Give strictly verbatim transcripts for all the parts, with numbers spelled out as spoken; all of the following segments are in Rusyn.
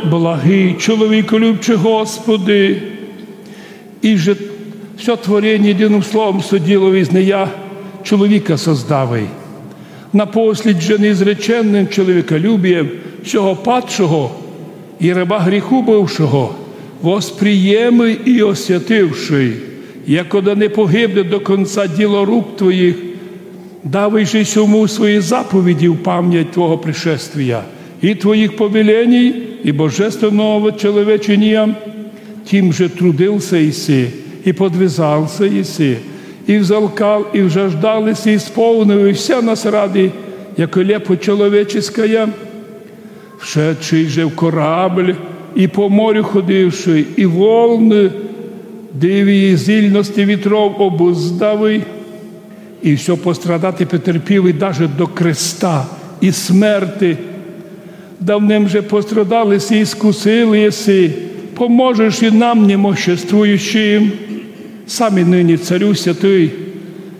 Благый, чоловіколюбчый Господи, и же всьо творенє єдиным словом соділо из нея чоловіка создавай. Напослід же неизреченным чоловіколюбієм сього падшого и раба гріху бывшого восприємый и освятившый, якода не погибне до конца діло рук Твоїх, давай же сьому свої заповіді в память Твого пришествія и Твоїх повеленій и божественного человеченія. Тим же трудился еси, и подвязался еси, и взалкал, и взаждал еси, исполнил и вся нас ради, яко лепо человеческая. Вшедший же в корабль, и по морю ходивший, и волны дивії зільности вітров обуздавый, и всьо пострадати претерпів и даже до креста и смерти. Давным же пострадал еси и искусил еси, поможеш и нам, немоществующим. Сам и нині, Царю святый,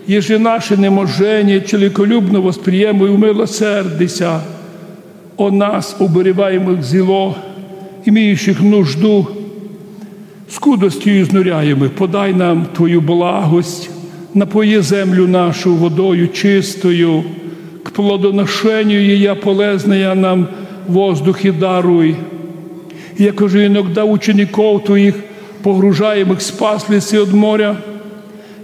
єже наше неможеніє чоловіколюбно восприємуй, умилосердися о нас, уболіваємых зіло, имеющих нужду, скудостью изнуряємых, подай нам Твою благость, напої землю нашу водою чистою, к плодоношению ея полезная нам воздухи даруй. Якоже иногда учеников Твоїх, погружаємых, спасли си од моря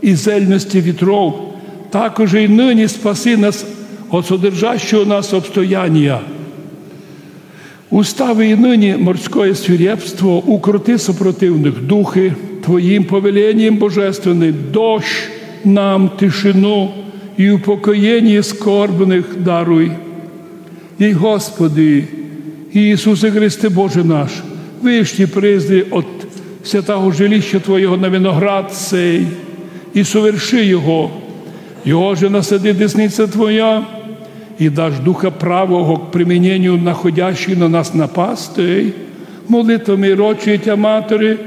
и зельности вітров, такоже и нині спаси нас од содержащого нас обстоянія. Устав и нині морськоє свирепство, укроти сопротивных духы Твоїм повеленієм божественным, дощ нам, тишину и упокоєніє скорбных даруй. Ей, Господи, Иисусе Христе, Боже наш, вышти призри от святого жилища Твоєго на виноград сей и соверши його. Його же насади десница Твоя, и даш Духа Правого к применению находящих на нас напастей, молитвами рочої Тя Матери,